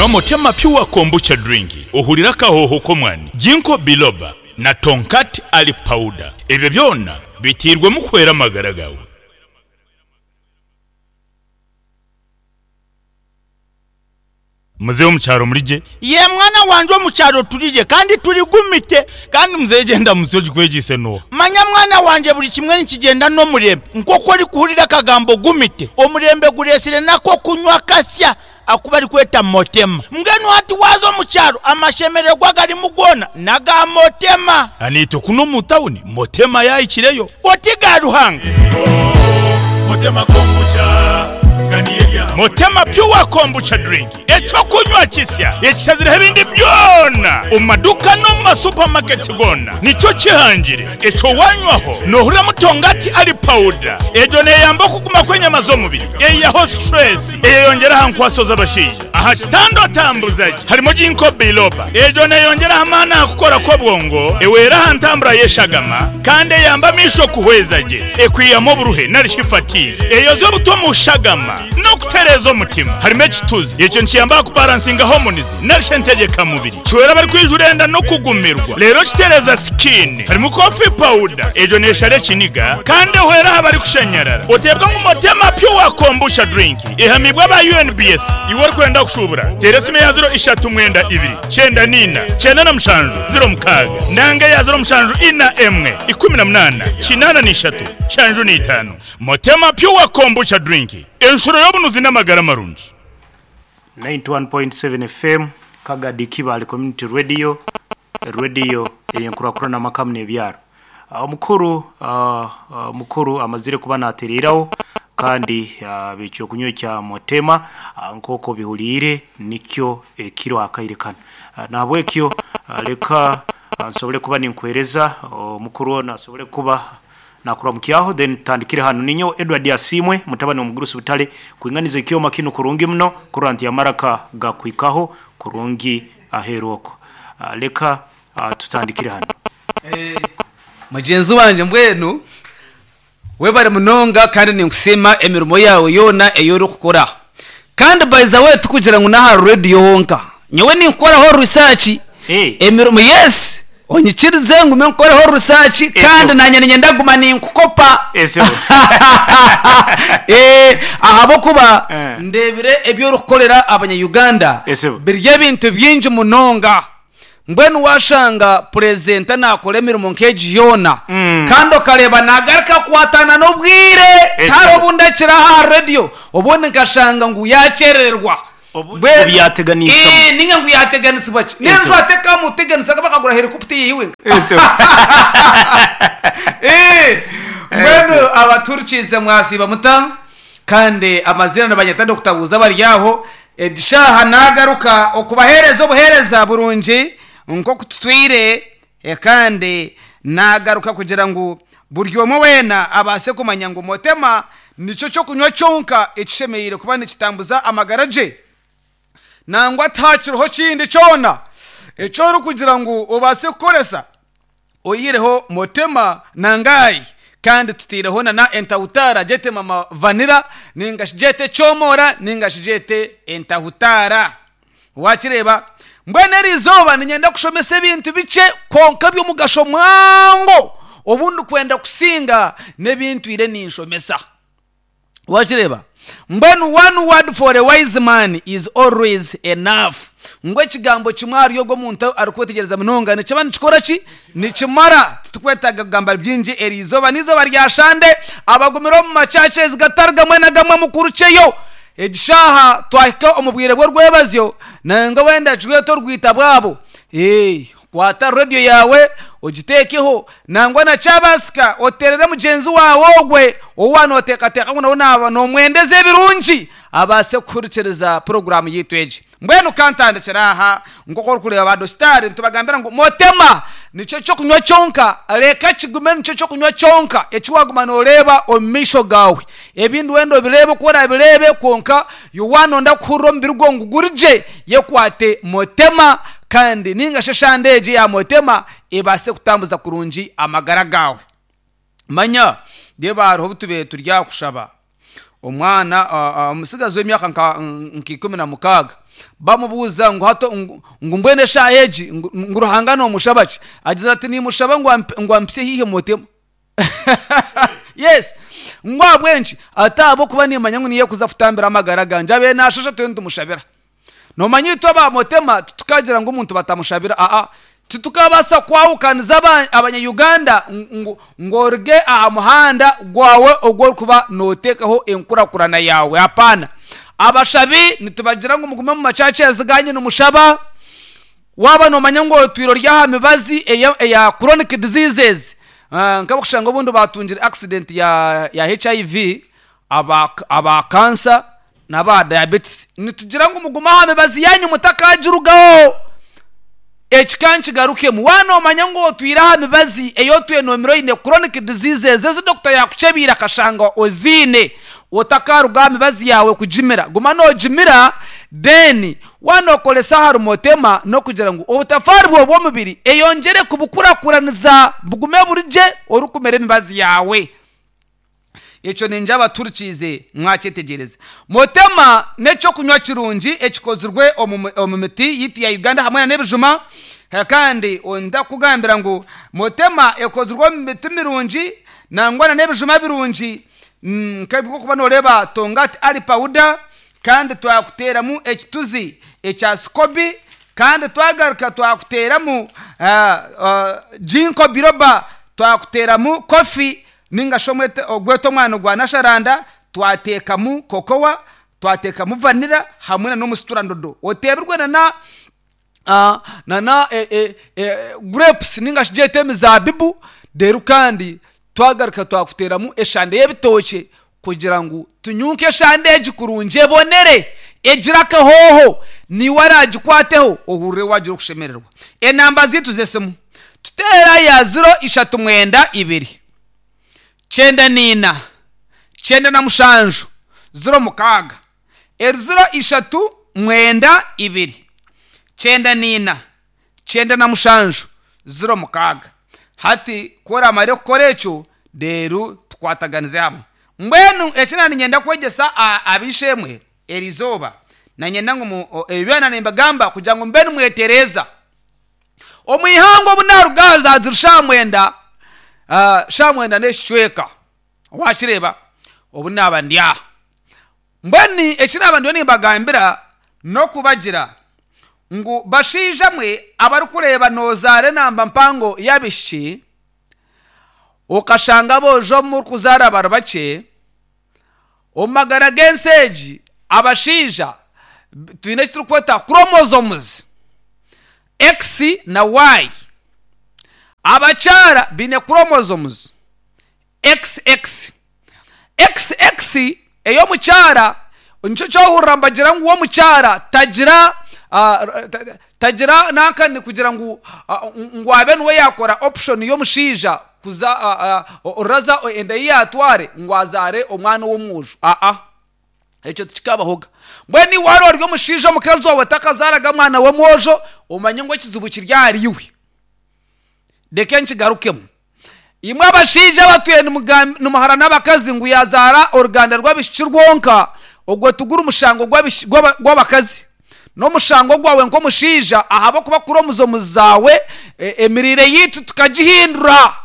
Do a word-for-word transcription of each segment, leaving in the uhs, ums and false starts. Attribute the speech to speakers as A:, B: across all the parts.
A: Nywa Motema Pure Kombucha Drink ohurire akahoho k'omwani, Ginkgo Biloba na Tongkat Ali Powder. Ebyo byona biteirwemu kuhwera amagara gaawe. Muzeeyi omu kyaro muri gye? Yee mwana wangye omu kyaro turi gye kandi turi gumite. Kandi muzeeyi gyenda musyo ogikwegyeise n'oha? Manya mwana wangye buri kimwe nikigyenda n'omurembe. Nk'oku orikuhurira akagambo gumite, omurembe gureetsire n'ak'okunywa kasya aku barikweta Motema. Mbwenu hati waaza omu kyaro amashemererwa agarimu goona n'aga Motema. Naitwe kunu omu tauni Motema yaahikireyo. Oti ga Ruhanga! Motema Pure Kombucha Drink, eky'okunywa kisya ekishazireho ebindi byona omu maduuka n'omu ma supermarkets goona nikyo kihangire. Ekyo wanywaho nohuriramu Tongati Ali Powder, egyo neyamba okuguma kw'enyama z'omubiri, eyihaho stress, eyeyongyera aha nkwaso z'abashaija. Aha kitanda otambuza gye harimu Ginkgo Biloba, egyo neyongyera aha maani aha kukora kw'obwongo, ehwera aha ntambura y'eshagama kandi eyamba amaisho kuhweza gye, ekwihamu oburuhe nari shi fatigue, eyozya obutwa omu shagama n'okutereeza omutima. Harimu ekituzi, ekyo nikiyamba aha kubaransinga hormones nari shi entegyeka mubiri. Kihwera abarikwijura enda n'okugumirwa reero kitereeza skin. Harimu coffee powder, egyo neeshara ekiniga kandi ehwera aha barikushanyarara. Oteebwa ngu Motema Pure Kombucha Drink ehamiibwe aba U N B S. Iwe orikwenda kushuubura, teera esimu eya ziro ishatu mwenda ibiri, kyenda naina, kyenda na mushanju, ziro mukaaga nanga eya ziro mushanju ina emwe, ikumi na munaana, kinaana na ishatu, nshanju na itaano. Motema Pure Kombucha Drink, enshuro y'obunuzi n'amagara marungi.
B: ninety-one point seven F M, Kagadi Kibaale Community Radio, radio eyenkurakurana amakamu n'ebyaro. Ah, omukuru ah, ah, omukuru amazire kuba natereraho kandi ah, ekyokunywa kya Motema ah, nk'uko bihuliire nikyo ekiro akaire kano. Ah, nahabwekyo ah, leka ah, nsobole kuba ninkuhereza omukuru ono asobole kuba nakuramukyaho, then tutandikire hano. Ninyo Edward Asimwe, mutabani omugurusi butale kuinganiza ekyoma kinu kurungi muno kurora nti amaraka gakwikaho kurungi aheeru oko. Ah, leka ah, tutandikire hano.
C: Mugenzi wanje, mbwenu webare munonga kandi ninkusiima emirimo yawe yoona ei orikukora. Kandi by the way, tukugira ngu n'aha radiyo honka, nyowe ninkukoraho research.
B: Eh.
C: Emirimo, yes, onyikirize ngume nkukoreho research kandi nanye ninyenda guma ninkukopa.
B: Eso.
C: Eh, ahabwokuba
B: Eh.
C: ndebire ebi orikukorera abanya-Uganda
B: Eso.
C: biri ebintu bingi munonga. Mbwenu washanga presenter nakora emirimo nk'egi yoona
B: Mm.
C: kandi okareba nagaruka kukwatana n'obwire,
B: Eso.
C: tari obundi akiri aha radiyo, obundi nkashanga ngu yakyerererwa.
B: Obu-
C: Bwe-
B: ngu yateganisibwa.
C: Eh, ninga ngu yateganisibwa ki.
B: Eso.
C: Nenju atekamuteganisa bakagura helicopter yiwe.
B: Eso.
C: Eh, mbwenu abaturikize mwasiba muta? Kandi amazina nabanyeta ndokutabuza bari aho edishaha nagaruka okubahereza obuhereza burungi nkoku tutwire, eh, kandi nagaruka kugira ngu buri omwe weena abase kumanya ngu Motema nicyo kyokunywa kyonka ekishemereire kuba nikitambuza amagara gye, nangwa takiriho kindi kyona ekyo orikugira ngu obase kukoresa oyihireho Motema nangayi. Kandi tutiireho na entahutara, gyete mama vanira, ninga gyete kyomora, ninga gyete entahutara. Wakireba, mbwenu eri izooba ninyenda kushomesa ebintu bikye konka by'omugasho mwango, obundi kwenda kusinga n'ebintwire ninshomesa. Wakireba, mbwenu one word for a wise man is always enough, ngu ekigambo kimwe ahari ogwo omuntu arikwetegereza munonga nikiba nikikora ki? Nikimara. Titukwetaaga kugamba bingi. Eri izooba n'izooba rya shande. Abagumire omu machurches gatari gamwe na gamwe mukurukyeyo. Egishaha twahika omu bwire bw'orwebazyo, nanga wenda kigwete orwita bwabo. Ee, kwata radiyo yawe ogiteekeho, nangwa na kyabasika oterere mugyenzi wawe ogwe owa noteekateeka ngu nawe naaba nomwendeza ebirungi abaase kuhurikiriza poroguramu yitu egi. Mbwenu kantandikira aha, nk'oku orikureeba badositari nitubagambira ngu Motema nikyo kyokunywa kyonka, reka kigume nikyo kyokunywa kyonka eki waguma noreeba omu maisho gawe. Ebindi wenda obireebe oku orabireebe, kwonka yowanonda kuhurira omubiri gwo ngu gurigye, yekwate Motema kandi ninga shi eshande egi ya Motema ebaase kutambuza kurungi amagara gawe. Manya reeba, hariho obu tubaire turi aha kushaba. Omwana omusigazi w'emyaka nka nka ikumi na mukaaga bamubuuza ngu hato ngu ngu mbwenu eshaaha egi ngu ngu Ruhanga noomushaba ki? Agize ati niimushaba ngu amp- ngu ampitsye haihi mutemu. Yes, ngu ahabw'enki? Ati ahabw'okuba niimanya ngu niiye kuza kutambira amagara gangye, abaire naashasha turiyo nitumushabira. Noomanya itwe aba Motema titukagira ngu omuntu batamushabira, aa titukabaasa kwahukaniza aba abanya-Uganda ngu ngu oruge aha muhanda gwawe ogu orikuba nooteekaho enkurakurana yaawe, hapaana. Abashabi nitubagira ngu mugume omu machurches gaanyu nimushaba, waaba noomanya ngu otwire ori aha mibazi eya eya chronic diseases, nk'abarikushanga obundi baatungire accident ya ya H I V, aba aba cancer n'aba diabetes, nitugira ngu mugume aha mibazi yaanyu mutakagirugaho. Eki ka nkigarukemu, waaba noomanya ngu otwire aha mibazi ei otwire noomira oine chronic diseases ezi dokita yaakukyebiire akashanga oziine, otakaruga aha mibazi yaawe kugimira, guma noogimira, then waaba nookoresa ahari Motema n'okugira ngu obutafaari bwawe bw'omubiri eyongyere kubukurakuraniza bugume buri gye orikumira emibazi yaawe. Ekyo ningira abaturikiize mwakyetegyereza. Motema n'ekyokunywa kirungi ekikozirwe omu omu miti yaitu ya Uganda hamwe na n'ebijuma. Kandi ndakugambira ngu Motema ekozirwe omu miti mirungi nangwa na n'ebijuma birungi nk'okuba nooreeba Tongati Ali powder, kandi twakuteeramu ekituzi ekya SCOBY, kandi twagaruka twakuteeramu ginkgo biloba, twakuteeramu coffee ninga shi ogwete omwani gwa nasharanda, twateekamu cocoa, twateekamu vanilla hamwe na n'omusiturandodo oteebirwe na na na grapes ninga shi gyete emizaabibu. Reero kandi twagaruka twakuteeramu eshande y'ebitookye kugira ngu tunyunke eshande egi kurungi ebonere egire akahooho, niiwe araagikwateho ohurire waagira okushemererwa. Enamba zaitu z'esimu tuteera ya ziro ishatu mwenda ibiri kyenda niina kyenda na mushanju ziro mukaaga, eri ziro ishatu mwenda ibiri kyenda niina kyenda na mushanju ziro mukaaga. Hati ku oramare kukora ekyo, reero tukwataganize hamwe. Mbwenu eki naaba niinyenda kwegyesa ab'eishe-emwe eri izooba, nanyenda ngu ebi byona nimbigamba kugira ngu mube nimwetereeza. Omu ihangwe obu naaruga aha zaaziri shaaha mwenda, shaaha mwenda n'ekicweka, waakireeba obu naaba ndi aha. Mbwenu eki naaba ndiyo nimbagambira n'okubagira ngu bashaija mwe abarikureeba noozaara enamba mpango y'abaishiki, okashanga aboojo murikuzaara bari bakye, omu magara g'ensi egi abashaija twine eki turikweta chromosomes X na Y. Abakyara baine chromosomes X X. X X ey'omukyara nikyo kyohurira nibagira ngu omukyara tagira tagira nankani kugira ngu ngu abe niwe yaakora option y'omushaija kuza oraza enda ei yaatware ngu azaare omwana w'omwojo, aa ekyo tikikabahoga. Mbwenu iwe waaba ori omushaija omukazi waawe atakazaaraga mwana w'omwojo, omanye ngu ekizibu kiri ahariiwe. Reka nkigarukemu, imwe abashaija abatwire nimuhara n'abakazi ngu yazaara oruganda rw'abaishiki rwonka, ogwo tiguri mushango gw'abakazi, n'omushango gwawe nk'omushaija, ahabw'okuba chromosomes zaawe emiriire yaitu tukagihindura.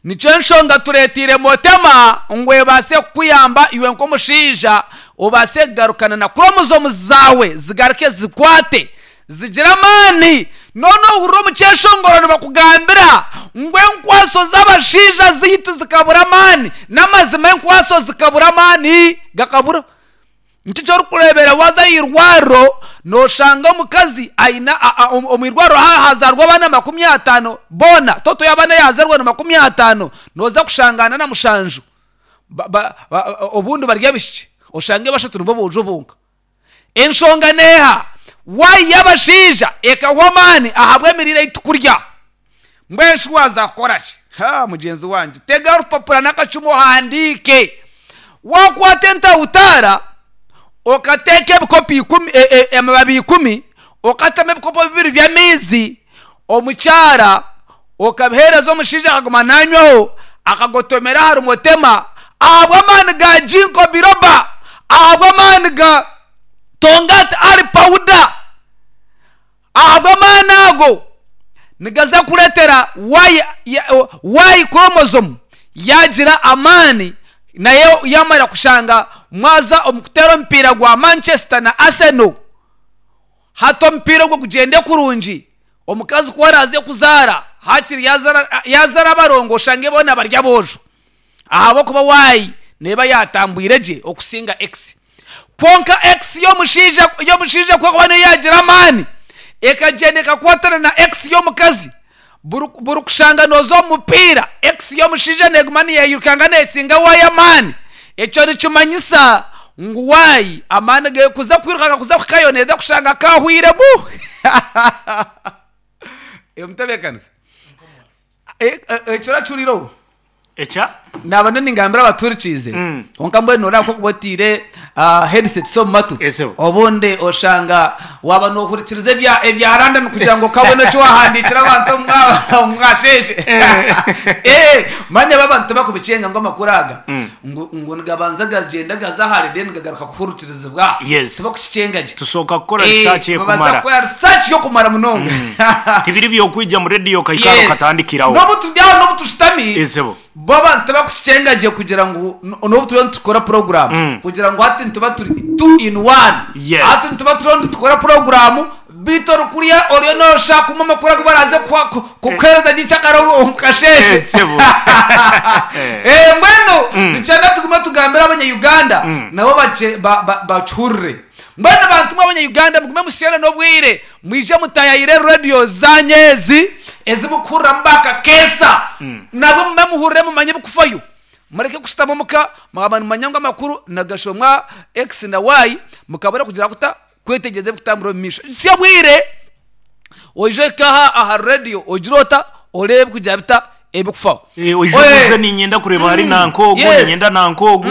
C: Nikyo enshonga tureeteire Motema ngu ebaase kukuyamba iwe nk'omushaija obaase kugarukana na chromosomes zaawe, zigaruke zikwate zigire amaani. None ohurira omu kyeshongoro nibakugambira ngu enkwaso z'abashaija zaitu zikabura amaani. N'amazima, enkwaso zikabura amaani gakabura. Nikyo kyorikureebera waaza aha irwariro nooshanga omukazi aine omu irwariro hazaarwa abaana makumi ataano, boona total y'abaana eyazaarwa ni makumi ataano, nooza kushanga ana na mushanju obundi bari abaishiki, oshange bashatu nibo boojo bonka. Enshonga neeha? Y y'abashaija ekahwa amaani ahabw'emirire ei tukurya. Mbwenu shi waaza kukora ki? Ha, mugyenzi wangye, tega orupapura n'akacumu ohandiike. Waakwata entahutaara okateeka ebikopo ikumi, amababi ikumi, okatamu ebikopo bibiri by'amaizi omukyara, okabiheereza omushaija akaguma nanywaho akagotomera ahari Motema. Ahabw'amaani ga Ginkgo biloba, ahabw'amaani ga Tongkat Ali powder, ahabw'amaani ago nigaza kureetera Y, Y chromosome yagira amaani, nayo yamara kushanga mwaza omu kuteera omupiira gwa Manchester na Arsenal. Hati omupiira ogwo gugyende kurungi, omukazi ku araaze kuzaara, hakiri yazaara yazaara abarongo oshange boona bari aboojo. Ahabw'okuba Y neeba yaatambwire gye okusinga X. Kwonka X y'omushaija y'omushaija ku erikuba niyo yaagira amaani, ekagyenda ekakwatana na X y'omukazi, buri buri kushanga nooza omu mupiira, X y'omushaija neeguma neeyirukanga neesinga Y amaani. Ekyo nikimanyisa ngu Y amaani ge kuza kwirukanga kuza kuhikayo neeza kushanga kaahwiremu. Omutebeekanisa, ekyo orakihuriireho?
B: Ekya?
C: Naaba ndiyo ningambira abaturikiize,
B: Mm.
C: kwonka mbwenu noreeba nk'okuba otaire ah, headsets omu matu,
B: Ese.
C: obundi oshanga waaba nohurikiriza ebya ebya London kugira ngu okabona eki wahandiikira abantu omu mwa- omu mwasheeshe. Eh, manya bo abantu tibakubikyenga ngu amakuru aga
B: Mm.
C: ngu ngu nigabanza gagyenda gaza ahare then gagaruka kuhurikirizibwa.
B: Yes.
C: Tibakukikyenga gye.
B: Tusooka kukora
C: Eh,
B: research
C: babaasa
B: ekumara.
C: kukora research y'okumara munonga.
B: Tibiri byokwija mu radio okaikara
C: Yes.
B: okatandikiraho.
C: N'obu turi aho n'obu tushutami,
B: Esebo.
C: bo abantu tibakukikyenga gye kugira ngu n'obu turiyo nitukora program,
B: Mm.
C: kugira ngu hati nituba turi two in one.
B: Yes.
C: Hati nituba turiyo nitukora program, beitu orikuriya oriyo nooshaka kumwe amakuru agu baraaze kuha- ku- kukuheereza nyenkyakare omu kasheeshe.
B: Esebo.
C: Eh, mbwenu nikyenda tugume tugambire abanya-Uganda
B: Mm.
C: nabo bakye- ba- ba- bakihurire. Mbwenu bantu mwe abanya-Uganda mugume musiyane n'obwire, mwije mutayayire radiyo zanyu ezi ezimukuhuriramu bakakeesa, nabwo mume muhurire mumanye ebikufayo. Mureke kushutama omuka mwaba nimumanya ngu amakuru nagashomwa X na Y, mukabura kugira kuta kwetegyereza ebikutambura omu maisho. Si obwire oije ohike aha aha radiyo ogire ota oreebe ebikugira bita ebikufaho.
B: Eh, oije
C: Oye.
B: obuuze niinyenda kureeba hari nanka ogu,
C: Yes.
B: niinyenda nanka ogu.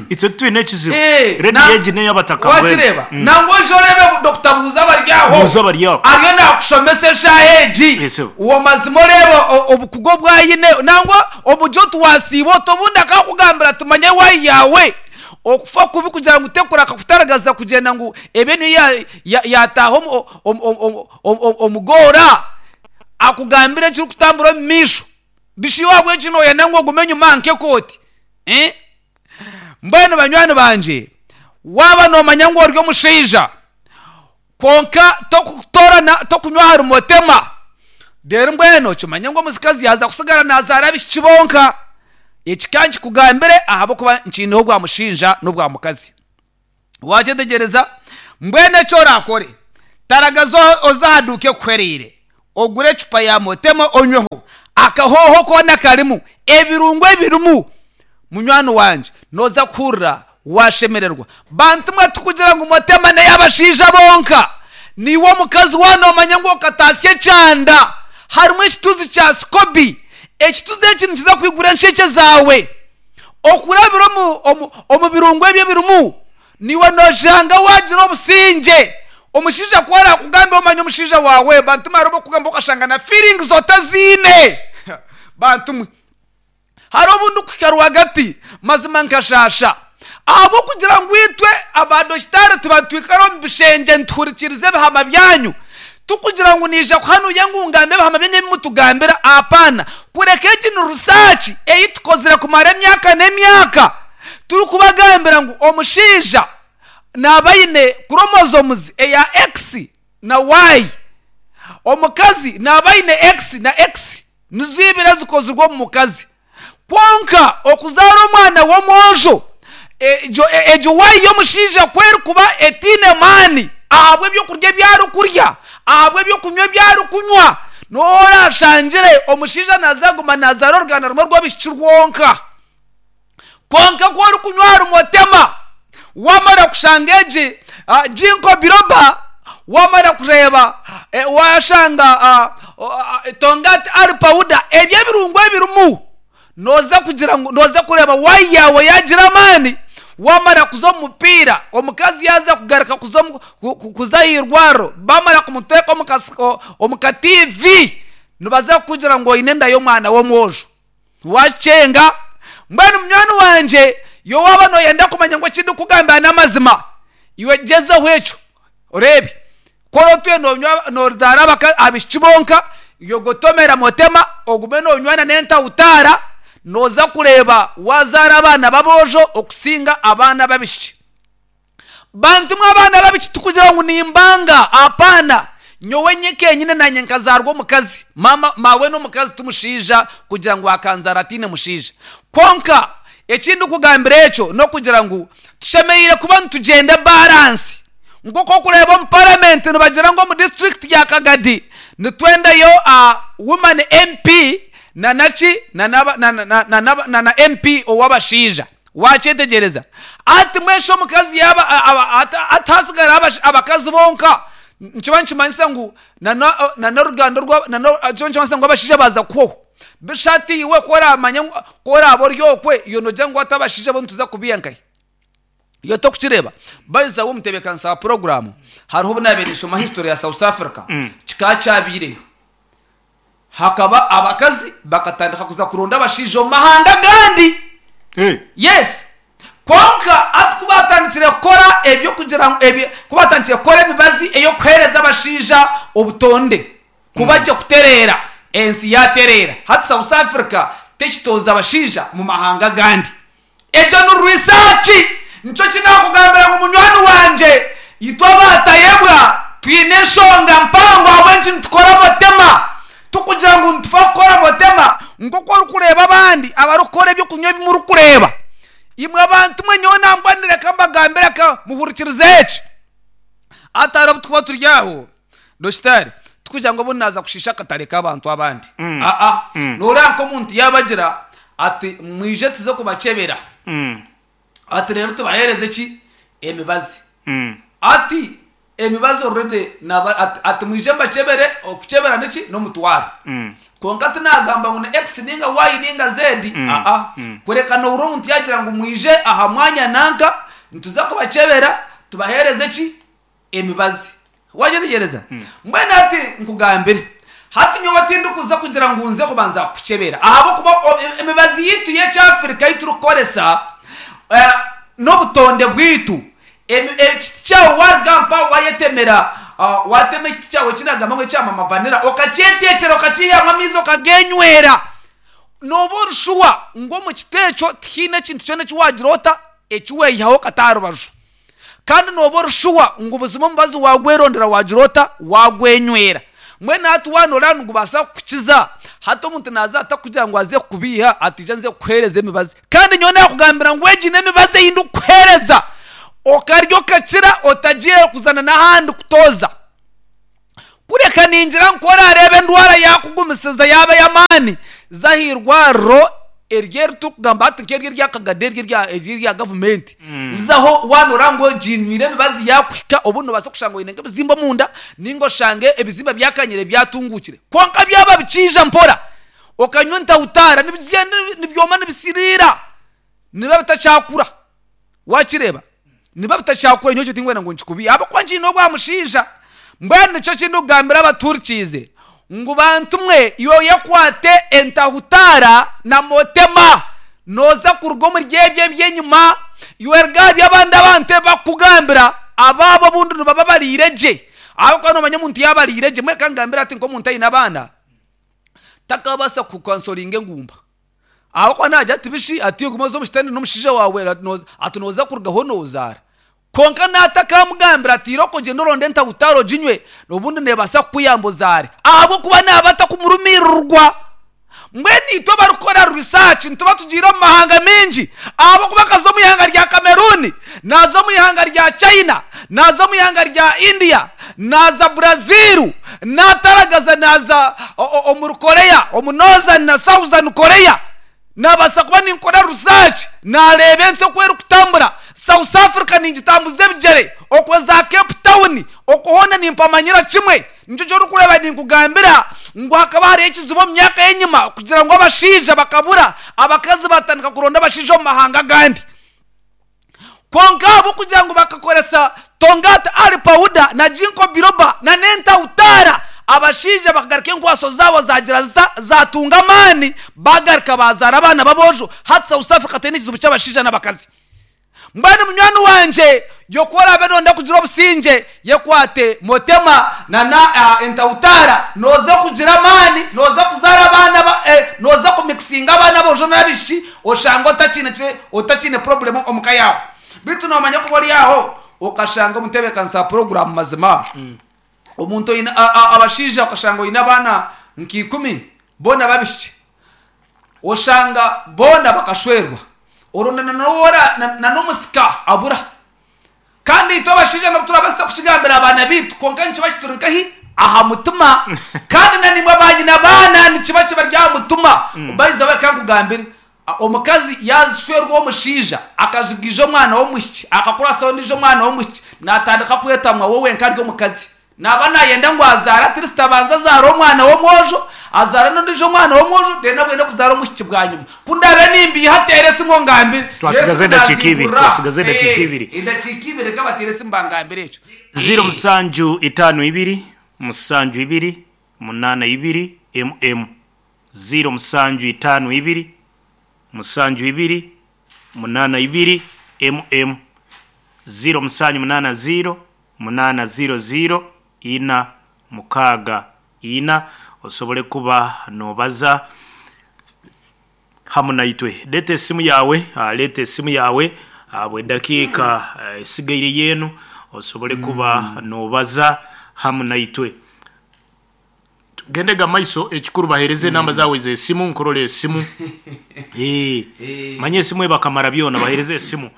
B: Itwe titwine ekizibu.
C: Eh,
B: Radio
C: na-
B: egi n'ey'abataka mbwenu.
C: wakireeba
B: Mm.
C: nangwa oije oreebe Dokita Buuza bari aho.
B: Buuza bari aho.
C: Ariyo naakushomesa eshaaha egi.
B: Yes, sir.
C: Uwo mazima oreebe o- obukugu obu aine, nangwa omugye oti waasiiba oti obundi akakugambira ati manya ewaayi yaawe. Okufa kubi kugira ngu tekuraka kutaragaza kugyenda ngu ebe niyo ya- ya- yataaha omu- omu- omu- omu- omu- omugoora, akugambire ekirikutambura omu maisho. Bishi iwe ahabw'enki nooyenda ngu ogume enyima nk'ekooti? Eh? Mbwenu banywani bangye, waaba noomanya ngu ori omushaija kwonka tokutoorana tokunywa ahari motema, reero mbwenu okimanye ngu omukazi yaaza kusigara naazaara abaishiki bonka. Eki ka nkikugambire ahabw'okuba nkiineho obwa mushaija n'obwa mukazi. Wakyetegyereza? Mbwenu eki oraakore, taragaza o- oze aha duuka ekuhwereire, ogure ecupa ya motema onyweho, akahooho koona karimu, ebirungo ebirimu, munywani wangye nooza kuhurira waashemererwa. Bantu mwe tikugira ngu motema n'ey'abashaija bonka, niiwe omukazi waaba noomanya ngu okataasya ekyanda, harimu ekituzi kya sikobi, ekituzi eki nikiza kwigura enshekye zaawe. Okurabira omu, omu, omu birungo ebyo ebirimu, niiwe nooshanga waagira obusingye. Omushaija ku arakugambira omanye omushaija waawe, bantu mwe hariho obukugamba okashanga na feelings otaziine. Bantu mwe hariho obundi kuhika rwagati mazima nkashasha ahabw'okugira ngu itwe abadokitaari tuba nitwikara omu bishengye nituhurikiriza ebihama byanyu, tikugira ngu niija kuhanuya ngu ngambe ebihama byanyu ebi mutugambira, apaana. Kureka egi ni research ei tukozire kumara emyaka n'emyaka, turikubagambira ngu omushaija naaba aine chromosomes eya X na Y, omukazi naaba aine X na X, nizo ibiri ezikozirwe omu mukazi. Kwonka okuzaara omwana w'omwojo, egyo, egyo Y y'omushaija ku erikuba etaine maani ahabw'ebyokurya ebi arikurya, ahabw'ebyokunywa ebi arikunywa, n'obu orashangire omushaija naaza kuguma naazaara oruganda rumwe rw'abaishiki rwonka. Kwonka ku orikunywa ahari motema, wamara kushanga egi, ah, Ginkgo biloba, wamara kureeba, eh, washanga, ah, ah, Tongkat Ali powder, ebyo ebirungo ebirimu, nooza kugira ngu nooza kureeba Y yaawe yaagira amaani, wamara kuza omu mupiira, omukazi yaaza kugaruka kuza omu, ku-, ku-, kuza aha irwariro, bamara kumuteeka omu kas-, o-, omu ka T V, nibaza kukugira ngu oine enda y'omwana w'omwojo. Wakyenga, Mbwenu munywani wanje yo waba noyenda kumanya ngu ekindi kugambira n'amazima, iwe gyezaho ekyo oreebe kora otuye nonywa nozaara abaka abishiki bonka, yogotomera motema ogume nonywana n'entahutaara, noza kureeba wazaara abaana b'aboojo okusinga abaana b'abishiki. Bantu mwe abaana b'abishiki tukugira ngu nimbanga, apaana. Nyowe nyekenyine nanye nkazarwa omukazi, mama mawe n'omukazi tumushiija kugira ngu akanzara atiine mushiija. Konka ekindi kugambira ekyo n'okugira ngu tushemereire kuba nitugyenda balance. Nk'oku okureba omu parliament nibagira ngu omu district ya Kagadi nitwendayo uh, woman M P na naki na na na na na na na M P ow'abashaija. Wakyetegereza ati mwesho omukazi yaba atasigara abakazi bonka, nkiba nkimanyisa ngu na na n'oruganda rwa na nkiba nkimanyisa ngu abashaija baza kuho bishati iwe koramanya koraba oryokwe iyo nogira ngu atabashaija bo nituza kubiyankaye. Iyo tokukireba bayiza wo mutebekanisa wa programu hariho obunaberesho ma history ya South Africa kikacyabireyo, hakaba abakazi bakatandika kuza kuronda abashaija omu mahanga gandi.
B: Hey.
C: Yes, konka atukubatandikire kukora ebyo kugira ebyo kubatandikire kukora emibazi eyo kuhereza abashaija obutonde kubajya kuterera ensi yaterera. Hati South Africa tekitoza abashaija mu mahanga gandi. Ekyo ni research. Nico kinakugambira ngu munywani wanje itwe abatayebwa twine enshonga mpango ahabw'enki nitukora motema, tukugira ngu nitufa kukora motema nk'oku orikureeba abandi abarikukora ebyokunywa ebimurikureeba. Imwe abantu mwe nyowe nambwanire ka mbagambire ka muhurikirize eki. Atari obu tukuba turi aho dositari tukugira ngu obu naza kushiisha akatare k'abantu abandi.
B: Mm.
C: Aa
B: Mm.
C: noreeba nk'omuntu yabagira ati mwije tuze kubacebera.
B: Mm.
C: Ati rero tubahereze ki emibazi.
B: Mm.
C: Ati emibazi already naba ati, ati mwije mbacebere okucebera niki n'omutwaro.
B: Mm.
C: Konka tinagamba ngu ni X ninga Y ninga Z.
B: Mm.
C: Aa
B: Mm.
C: kureka noura omuntu yagira ngu mwije aha mwanya nanka nituza kubacebera tubahereze ki emibazi. Wajetegereza
B: Mm.
C: mbwenu ati nkugambire hati nyowe tindikuza kugira ngu nze kubanza kucebera ahabwokuba emibazi yitu y'ekyafrika yiturikukoresa eh, n'obutonde bwitu. Ekiti kyawe warugampa wayetemera, uh, watema ekiti kyawe kinagamba ngu ekyamama vanira okakyetekyera okakiihamu amaizi okagenywera, noba orushuwa ngu omu kiti ekyo tihaine ekintu kyona eki wagira ota ekiweyihaho kata rubaju, kandi noba orushuwa ngu buzima omubazi wagwerondera wagira ota wagwenywera. Mbwenu hati wanorora nigubaasa kukukiza. Hati omuntu naza atakugira ngu aze kukubiiha ati ija nze kukuhereza emibazi, kandi nyowe nakugambira ngu egi n'emibazi ei ndikukuhereza okarya okakira otagiye kuzana n'ahandi kutoza. Kureka ningira ngu orareeba endwara yakugumisiza yaba y'amaani zahirwariro eryo eritukugamba ati nk'eryo eryakagade eryo erya eryo erya gavumenti zaho wanora ngu oginywire emibazi yakuhika, obu nobaasa kushanga oine nk'ebizimba omunda ninga oshange ebizimba byakanyire byatungukire, konka byaba bikiija mpora okanywa entahutaara nibigyenda nibyoma nibisiriira niba bitakyakura. Wakireeba niba bitakyakura nyowe ekyo tingwenda ngu nkikubihe ahabwokuba nkiine obwamushaija. Mbwenu nikyo kindikugambira abaturikiize ngu bantu mwe iwe yakwate entahutaara na motema noza kuruga omuri ebyo ebyenyima, iwe ruga abandi abantu bakugambira abaabo obundi nibaba bariire gye, ahabwokuba nomanya omuntu yaaba ariire gye. Mweka ngambira ati nk'omuntu aine abaana takabaasa kukansoringa engumba, ahabwokuba nagira ati bishi ati ogume oze omu kitende n'omushaija wawe ati noza kurugaho nozaara. Konka natakamugambira ati iroko gyenda oronde entahutaara oginywe obundi nebaasa kukuyamba ozaare, ahabwokuba naaba atakumurumirirwa. Mbwenu itwe abarikukora research nituba tugiire omu mahanga mingi, ahabwokuba akaza omu ihanga rya Cameroon, naza omu ihanga rya China, naza omu ihanga rya India, naza Brazil, nataragaza naza omuri Korea, omu Northern na Southern Korea. Nabaasa kuba ninkora research nareeba ensi oku erikutambura. South Africa ningitambuza ebigyere okweza Cape Town okuhoona nimpamanyira kimwe. Nikyo ky'orikureeba ninkugambira ngu hakaba hariho ekizibu omu myaka y'enyima kugira ngu abashaija bakabura, abakazi batandika kuronda abashaija omu mahanga agandi. Konka ahabw'okugira ngu bakakoresa Tongata Ali Powder na Ginkgo Biloba na n'entahutaara, Abashaija bakagaruka enkwaso zaabo zagira zita zatunga amaani, bagaruka bazaara abaana b'aboojo. Hati South Africa teine ekizibu ky'abashaija n'abakazi. Mbwenu munywani wangye, yoku oraabe nonda kugira obusinge, yekwate Motema nana uh, entawutara, noza kugira amaani, noza kuzaara abaana ba, eh, noza kumixinga abaana b'ojo n'abaishiki, oshanga otakiine ki- otakiine problem omuka yawe. Bitu nomanya kuba ori aho okashanga omutebeekanisa program mazima omuntu oine a- a- abashaija, okashanga oine abaana nk'ikumi boona babishiki, oshanga boona bakashwerwa, oronda nanowora n'omusika abura. Kandi itwe abashaija nabo turabasita kukigambira abaana bitu, konka nikiba kituri nkahi aha mutima. Kandi na nimwe banyina baana nikiba kiba rya mutima. Baiza bakankugambire, omukazi yashwerwa omushaija akajigija omwana w'omwishiki, akakurasa ondiijo omwana w'omwishiki, natandika kwetamwa wowe nka ari omukazi, naba nayenda ngu azaara, at least abanza azaara omwana w'omwojo, azaara n'ondiijo omwana w'omwojo, then abwene kuzaara omwishiki bwanyuma. Kundabe nimbiiha tere esimu ngambire.
B: Twasigaza edakiika ibiri, twasigaza edakiika ibiri.
C: Edakiika ibiri, reka batere esimu bangambire ekyo.
B: Ziro musanju itaano ibiri musanju ibiri munana ibiri mm ziro musanju itaano ibiri musanju ibiri munana ibiri mm ziro musanju munana ziro munana ziro ziro ina mukaaga ina, osobole kuba nobaza hamu naitwe. Leta esimu yawe, ah, leta esimu yawe ah, bwe dakiika ah, esigaire yenu, osobole kuba nobaza hamu naitwe. Tugendega maiso, ekikuru bahereze enamba zawe z'esimu, nkurora esimu. Eh, manye esimu ebakamara byona, bahereze esimu.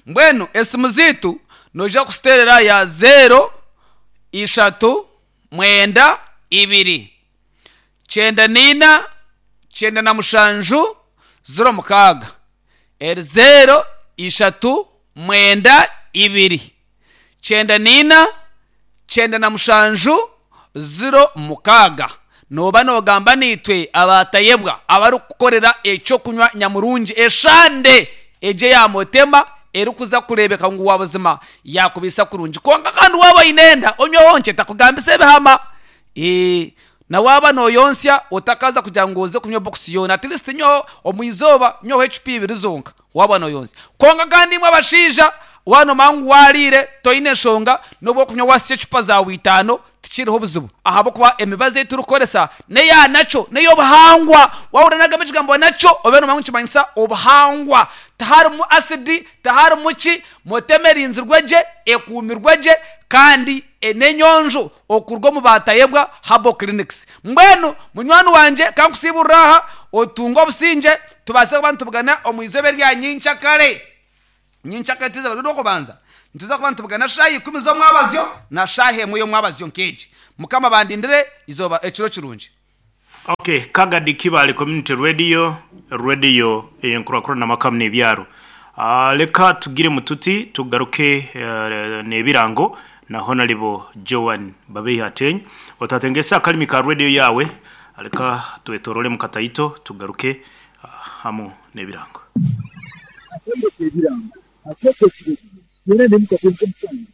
C: Mbwenu esimu ziitu noija kusiterera ya zero ishatu mwenda ibiri kyenda niina kyenda na mushanju ziro mukaaga, eri zero ishatu mwenda ibiri kyenda niina kyenda na mushanju ziro mukaaga. Noba nogamba niitwe abatayebwa abarikukorera ekyokunywa nyamurungi eshande egye ya Motema, erikuza kurebeka ngu wabuzima yakubisa kurungi. Konka kandi waba oine enda, onyweho nkye, takugambisa ebihama. Eh, na waba noyonsya, otakaza kugira ngu oze kunywa bokisi yoona, at least nyweho omu izooba nyweho ecupa ibiri zonka waba noyonsya. Konka kandi imwe abashaija, wanomanya ngu wariire, toine enshonga nobu okunywa wasya ecupa zawe itaano, tikiriho obuzibu, ahabwokuba emibazi ei turikukoresa neya nakyo ney'obuhangwa. Wahurira nagamba ekigambo nakyo, obe nomanya ngu nikimanyisa obuhangwa, tiharimu asidi, tiharimu ki. Motema erinzirwe gye, ekuumirwe gye, kandi n'enyonjo okuruga omu Batayebwa Herbal Clinics. Mbwenu munywani wangye, kankusiiburira aha, otunge obusingye, tubaase kuba nitubugana omu izooba erya nyincakare. Nyincakare tuza bari okubanza, nituza kuba nitubugana shaaha ikumi z'omwabazyo na shaaha emwe y'omwabazyo nk'egi. Mukama bandindire izooba ekiro kirungi.
B: Okay, Kagadi Kibale Community Radio, radio eyenkurakurana amakamu n'ebyaro. Uh, leka tugire mututi tugaruke uh, n'ebirango na Honorable Joan Babehi Ateny. Otatengesa akalimi ka radio yawe, leka twetorole mu kataito tugaruke uh, hamu n'ebirango.
D: Akaireku ebirango akeekesire byona nemukatenze omusango.